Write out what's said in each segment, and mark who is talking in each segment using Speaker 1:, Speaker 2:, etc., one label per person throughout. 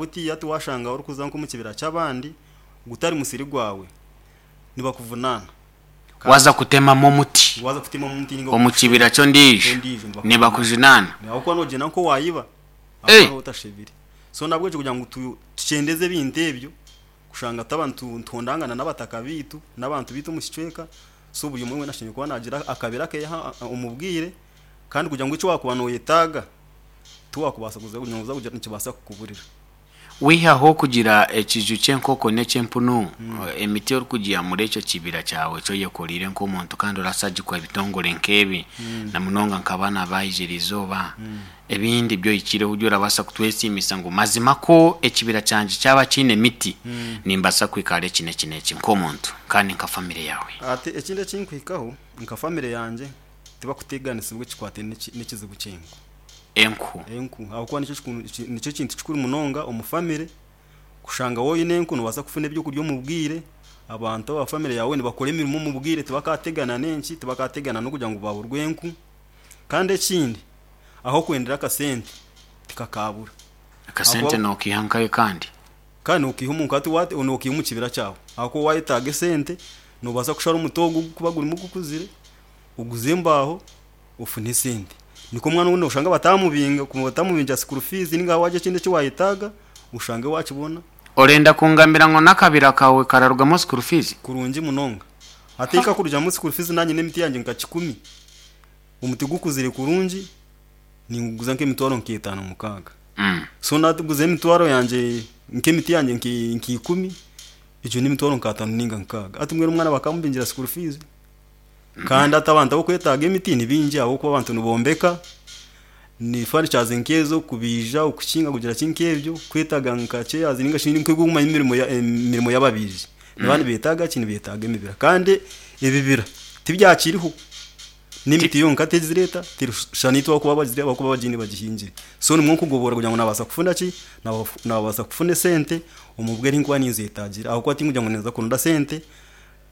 Speaker 1: Butiya tiwashanga orikuza nk'omu kibira ky'abandi gutari musiri gwawe nibakuvunaana.
Speaker 2: Waaza kutemamu omuti
Speaker 1: Waaza kutemamu omuti ninga
Speaker 2: omu kibira ky'ondiijo
Speaker 1: ondiijo
Speaker 2: nibakujunaana.
Speaker 1: Ahabw'okuba noogyenda nk'owaayiba
Speaker 2: Eh!
Speaker 1: ahabw'okuba nooba otashebire. So nahabwekyo kugira ngu tu tukyendeze ebintu ebyo kushanga twaba nitu nituhondangana n'abataka baitu n'abantu baitu omu kicweka so buri omwe weena ashemereire kuba naagira akabira akeye omu bwire kandi kugira ngu eki waakuba nooyetaaga tiwaakubaasa kuza nooza kugira nikibaasa kukuburira.
Speaker 2: Wihaho okugira ekiju ky'enkoko n'eky'empunu, emiti orikugiiha muri ekyo kibira kyawe eki oyekoreire nk'omuntu kandi orasagikwa ebitongore nk'ebi na munonga nka banu abaija eriizooba, ebindi ebi ohikireho ebi orabaasa kutwesiimisa ngu mazima kwo ekibira kyangye kyaba kiine emiti, nimbaasa kuhika ahari eki n'eki n'eki nk'omuntu kandi nka famire yaawe.
Speaker 1: Hati ekindi ekinkuhikaho nka famire yangye tibakuteganisibwa ekikwataine n'ekizibu ky'enku.
Speaker 2: Enku.
Speaker 1: Enku ahabw'okuba nikyo kikuru nikyo kintu kikuru munonga omu famire kushanga waaba oine enku noobaasa kufuna ebyokurya omu bwire, abantu aba famire yaawe nibakora emirimo omu bwire tibakaategana n'enki, tibakaategana n'okugira ngu baaburwa enku. Kandi ekindi ah'okwendera akasente tikakaabura.
Speaker 2: Akasente
Speaker 1: Ahabw'okuba
Speaker 2: nookaiha nkahe kandi?
Speaker 1: Kandi nookaiha omu nka nookaiha omu kibira kyawe ahabw'okuba waayetaaga esente noobaasa kushara omuti ogu ogurikuba gurimu gukuzire oguze embaaho ofune esente. Nikwo omwana ou noshanga batamubinga, batamubingira school fees ninga wagira ekindi eki wayetaaga oshange wakibona.
Speaker 2: Orenda kungambira ngu n'akabira kaawe kararugamu school fees?
Speaker 1: Kurungi munonga. Hati kakurugamu school fees nanye n'emiti yangye nka kikumi, omuti gukuzire kurungi ninguguza nk'emitwaro nk'etaano mukaaga. So naguza emitwaro yangye nk'emiti yangye nka ikumi, egyo n'emitwaro nk'ataano ninga nkaaga. Hati mbwenu omwana bakamubingira school fees? Kandi hati abantu abokwetaaga emiti ni baingi ahabw'okuba abantu nibombeka, ni furnitures nk'ezo kubaija, okukinga kugira ki nk'ebyo, kwetaaga nka chairs ninga shi nk'okumanya emirimo emirimo y'ababaiji. Nibaba nibeetaaga ki? Nibeetaaga emibira. Kandi ebibira tibyakiriho, n'emiti yonka tegireeta, terikushusha n'itwe ahabw'okuba abagire ahabw'okuba bagiine bagihingire. So nimwo nkugoboora kugira ngu naabaasa kufuna ki? Naabaasa kufuna esente omu bwire ahi nkuba ninzeetaagira ahabw'okuba tinkugira ngu ninza kuronda sente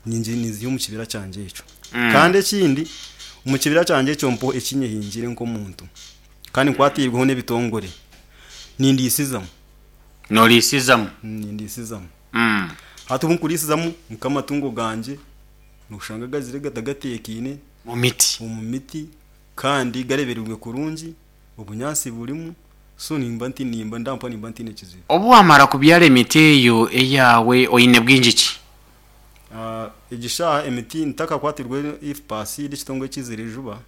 Speaker 1: Ninziiha omu kibira kyangye ekyo. Kandi ekindi, omu kibira kyangye ekyo mpoho eki nyehingire nk'omuntu, kandi nkwatiirweho n'ebitongore, nindiisizamu.
Speaker 2: Nooriisizamu?
Speaker 1: Nindiisizamu. Hati obu nkuriisizamu nk'amatungo gangye, nooshanga gazire gata gateekaine.
Speaker 2: Omu miti?
Speaker 1: Omu miti, kandi gareebereirwe kurungi, obunyaatsi burimu, so nimba nti nimba ndampa nimba ntaine kizibu.
Speaker 2: Obu waamara kubyara emiti eyo eyaawe, oine bwingi ki?
Speaker 1: Egi shaaha emiti ntakakwatirwe IFPAS n'ekitongore ekiizire juba,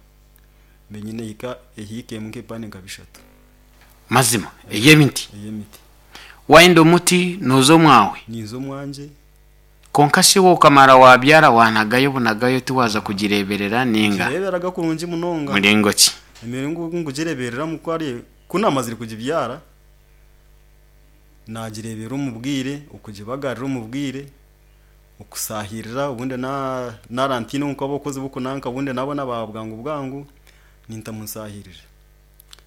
Speaker 1: mbe nyine ehika ehiika emwe nk'ebipande nka bishatu.
Speaker 2: Mazima, ey'emiti?
Speaker 1: Ey'emiti.
Speaker 2: Waayenda omuti nooza omwawe?
Speaker 1: Ninza omwangye.
Speaker 2: Kwonka shi iwe okamara waabyara waanagayo bunagayo tiwaaza kugireeberera nainga?
Speaker 1: Ngireeberaga kurungi munonga.
Speaker 2: Muringo ki?
Speaker 1: Emiringo ogu ngugireebereramu ku ari ku naamazire kugibyara, Naagireeberera omu bwire, okugibagarira omu bwire, okusaahirira obundi naaba ntaine nk'abakozi b'okunanka obundi naabona ba bwangu bwangu nintamu nsaahirira.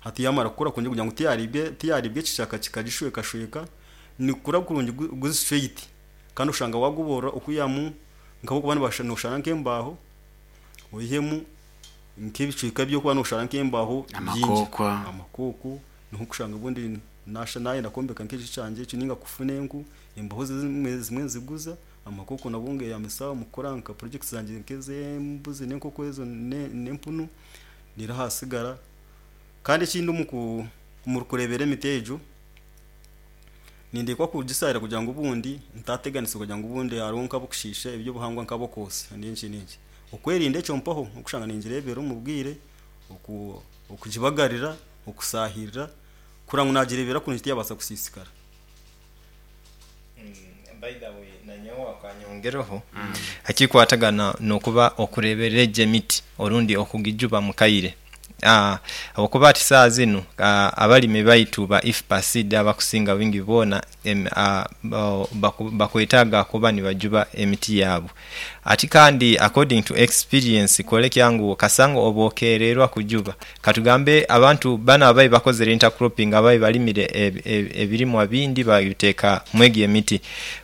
Speaker 1: Hati yaamara kukura kurungi kugira ngu tiyaariibwa ekishaka kikagishwekashweka, nigukura kurungi guri straight kandi oshanga waaguboorora okwihamu nk'ahabw'okuba nooshara nk'embaaho oihemu nk'ebicweka by'okuba nooshara nk'embaaho bingi, amakooko niho orikushanga obundi Naasha naayenda kwombeka nk'ekiju kyangye ekyo nainga kufuna enku, embaho zimwe zimwe nziguza, amakoko nabwo ngeyambisa omu kukora nka projects zangye nk'ez'embuzi n'enkoko ezo n'empunu, reero hasigara. Kandi ekindi omu ku omu kureebera emiti egyo, ninteekwa kugisaarira kugira ngu obundi ntaateganisibwa kugira ngu obundi hariho nk'abokushiisha eby'obuhangwa nk'abokwotsya n'enki n'enki. Okwerinda ekyo mpaho n'okushanga ningireebera omu bwire, okugibagarira, okusaahirira. Kurora ngu nagirebera kurungi tiyabaasa kusiisikara.
Speaker 3: By the way nanyowe akanyongereho ekikwatagana nokuba okureberera egyo emiti orundi okugijuba mukaire ahabwokuba hati saaha zinu abalimi baitu ba IFPA seed abakusinga bwingi boona bakwetaaga kuba nibajuba emiti yaabu. Ati kandi according to experience kwolekya ngu kasanga oba okereerwa kujuba. Katugambe abantu bano ababaire bakozere intercropping ababaire balimire ebirimwa bindi babiteeka mwegyo emiti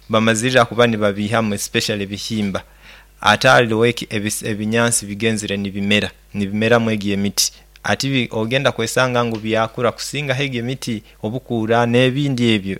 Speaker 3: bamazirira kuba nibabiihamu especially ebihimba ate aligho ebinyansi bigenzire nibimera nibimera mwegyo emiti ati ogenda kwesanga ngu byakura kusingaho egyo emiti obukuura nebindi ebyo.